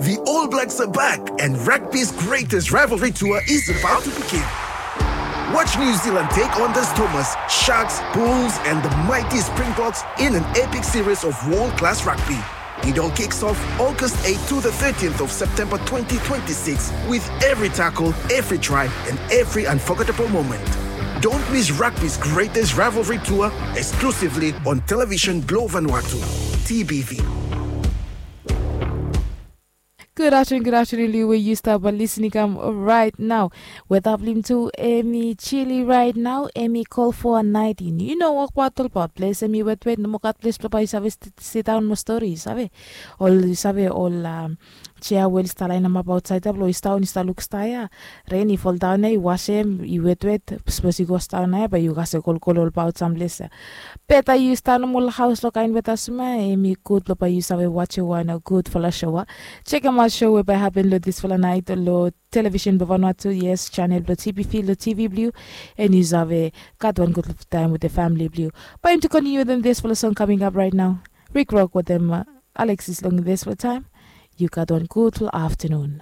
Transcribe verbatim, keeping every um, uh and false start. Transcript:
The All Blacks are back, and rugby's greatest rivalry tour is about to begin. Watch New Zealand take on the Stormers, Sharks, Bulls, and the mighty Springboks in an epic series of world class rugby. It all kicks off August eighth to the thirteenth of September twenty twenty-six, with every tackle, every try, and every unforgettable moment. Don't miss rugby's greatest rivalry tour, exclusively on Television Globe Vanuatu, T B V. Good afternoon, good afternoon, Liu, where you start by listening. I'm right now. Weda blong tu, em i chili right now, em i cold for a night in. You know, wokbaot olbaot ples em i wetwet, nomo gat ples blong bae yu save sidaon mo stori, yu save. Ol, yu save, ol, um, chia we oli stap lainamap aotsaed ya blong yu sidaon, yu stap luk sta ya. Ren i foldaon ya, yu wasem, i wetwet, sapos yu go sidaon ya, bae yu kasem kolkol olbaot sam ples ya. Beta yu stap nomo long haos long kaen weta sum ya, em i gud blong bae yu save wajem wan gudfala show ya. Jekemaot show we bae hapen long disfala naet long Television blong Vanuatu, yes, channel blong T B V long T V blong yu, and yu save gat wan gud taem wetem famili blong yu. Bae yumi tu kontiniu wetem disfala song coming up right now. Rick Rock wetem, uh, Alexis long disfala taem. Yu gat wan gudfala aftenun.